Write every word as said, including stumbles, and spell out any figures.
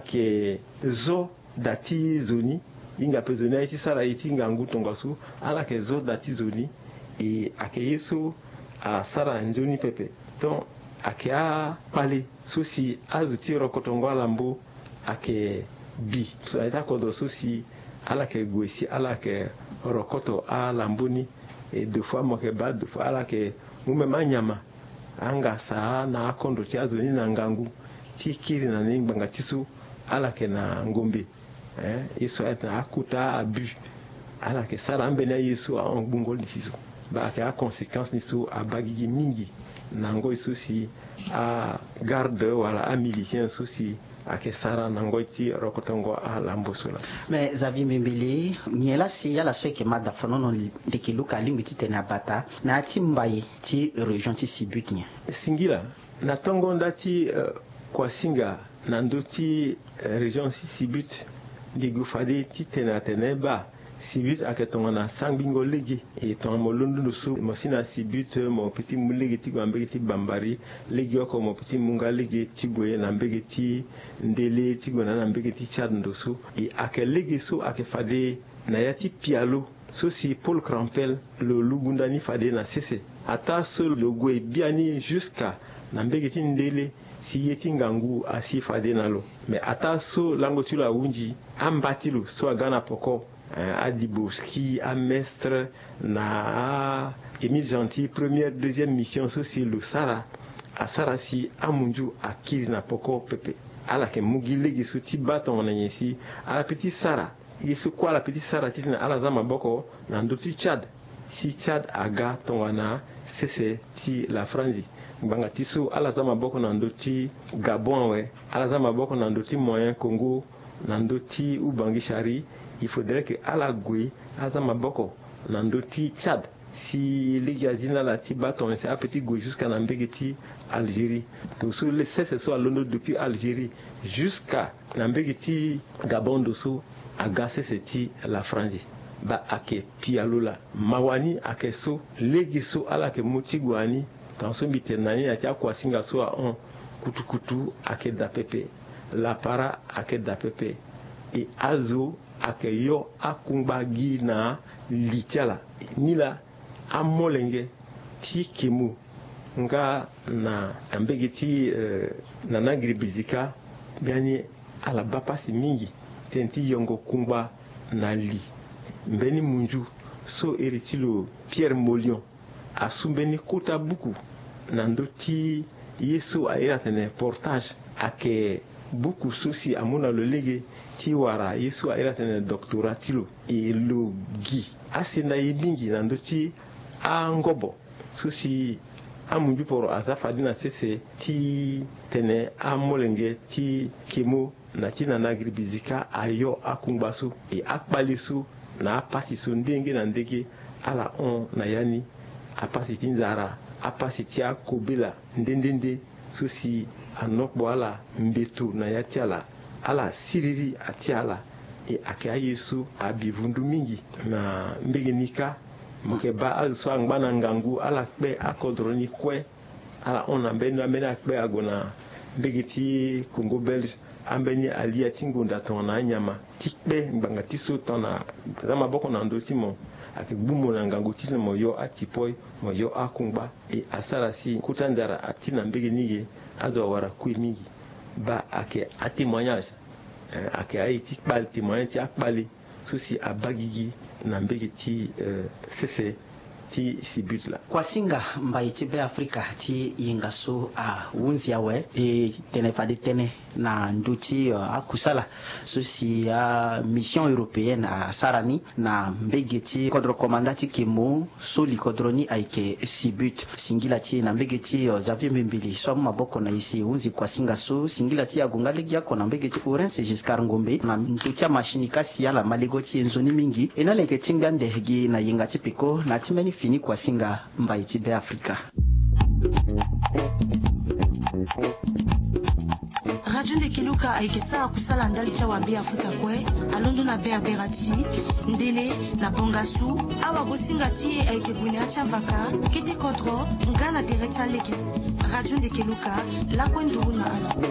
ayeke zo da ti zo ni. Hinga pe zo ni aye ti sara ye ti ngangu tongaso. Ala yeke zo da ti zo ni. E ayeke ye so asara nzoni pepe. Donc ayeke akpale so si azo ti rokotongo alambo ayeke bi so na ya ti akodro so si ala yeke gue si ala yeke rokoto alambo ni. E deux fois mo yeke baa deux fois ala yeke mu même anyama angasa na akondro ti azo ni na ngangu ti kiri na ni ngbanga ti so ala yeke na ngombe. Hein, ye so ayeke na akota abus. Ala yeke sara ambeni aye so ahon gbungo li ti so. Baa ayeke aconséquence ni so abaa gigi mingi na ngoi so si agarde wala amilicien so si ayeke sara na ngoi ti rokotongo alambo so laa. Mais Xavier Mbembele, nyen laa si ala so ayeke ma dafanono ndeke luka alingbi titene abata na ya ti mbai ti région ti Sibut nyen? Singila, na tongo nda ti, eh, kuasinga na ndö ti, eh, région ti Sibut, mbi gue fade titene atene baa Sibut ayeke tongana sangbingo lege. E tongana mo londo ndo so mo si na Sibut, mo peut ti mu lege ti gue na mbege ti Bambari. Legeoko mo peut ti mu nga lege ti gue na mbege ti Ndele, ti gue na na mbege ti Tchad ndo so. E ayeke lege so ayeke fade na ya ti pialo so si Paul Krampel lo lugu nda ni fade na sese. Ataa so lo gue biani jusqu'à na mbege ti Ndele si ye ti ngangu asi fade na lo. Mais ataa so lango ti lo ahunzi, amba ti lo so aga na poko, eh, adibo ski, amestre na a Émile Gentil, première, deuxième mission so si lo sara, asara si amunzu akiri na poko pepe. Ala yeke mu gi lege so ti baa tongana nyen si ala peut ti sara. Ye so kue ala peut ti sara titene ala za maboko na ndö ti Tchad, si Tchad aga tongana sese ti Lafranzi. Ngbanga ti so ala za maboko na ndö ti Gabon awe, ala za maboko na ndö ti Moyen Congo, na ndö ti Ubangui Chari. Il faudrait que ala gue aza maboko na ndö ti Tchad. Si lege azi na ala ti baa tongana si a peut ti gue jusqu'à na mbege ti Algérie. Ndo so le sese so alondo depuis Algérie jusqu'à na mbege ti Gabon ndo so aga sese ti Lafranzi. Baa ayeke pialo laa. Mawa ni ayeke so lege so ala yeke mu ti gue na ni. Tongaso mbi tene na ni na ya ti akuasinga so ahon, kutukutu ayeke daa pepe. Lapara ayeke daa pepe. E azo ayeke yo akungba gi na li ti ala. Nilaa amolenge ti kemo nga na mbege ti, eh, Nana Giribizika, biani ala baa pasi mingi tënë ti yongo kungba na li. Mbeni munzu so iri ti lo Pierre Molion asu mbeni kota buku na ndö ti ye so a iri atene portage. Ayeke buku so si amu na lo lege ti wara ye so a iri atene doctorat ti lo. E lo gi asenda ye mingi na ndö ti angobo so si amunzu poro aza fade na sese titene amolenge ti kemo na ti Nana Giribizika ayo akungba so. E akpale so na apasi so ndenge na ndenge ala hon na ya ni. Apasi ti nzara, apasi ti akobela nde nde nde so si anokpo ala mbeto na ya ti ala. Ala siriri atia ala. E ayeke aye so abi vundu mingi na mbege ni kâ. Mo yeke baa azo so angba na ngangu ala kpe akodro ni kue. Ala hon na mbeni ambeni akpe ague na mbege ti Congo Belge. Ambeni alia ti ngonda tongana anyama ti kpe ngbanga ti so tongana za maboko na ndö ti mo. Ayeke gbu mo na ngangu titene mo yo atipoi, mo yo akungba. E asara si kota nzara ati na mbege ni ge. Azo awara kue mingi. Baa ayeke atémoignage. Eh, ayeke aye ti kpale, témoignage ti akpale so si abaa gigi na mbege ti, eh, sese ti Sibut laa. Kuasinga mbai ti Beafrika ti yenga so ahunzi awe. E tene fade tënë na ndö ti, eh, akusala so si amission européenne asara ni na mbege ti kodro komanda ti kemo so li kodro ni ayeke Sibut. Singila ti e na mbege ti, eh, Xavier Mbembele so amu maboko na e si e hunzi kuasinga so. Singila ti e ague nga legeoko na mbege ti Orense Giscard Ngombe na ndö ti amasinika si ala ma lego ti e nzoni mingi. E na ala yeke tingbi ande gi na yenga ti peko na ya ti mbeni fini kuasinga mbai ti Beafrika. Radio Ndekeluka ayeke sara kusala ndali ti awa Beafrika kue, alondo na Berbera ti Ndele na Bangassou. Awagosinga ti e ayeke gue na ya ti avaka, kete kodro nga na tere ti alege. Radio Ndekeluka, lakue nduru na ala.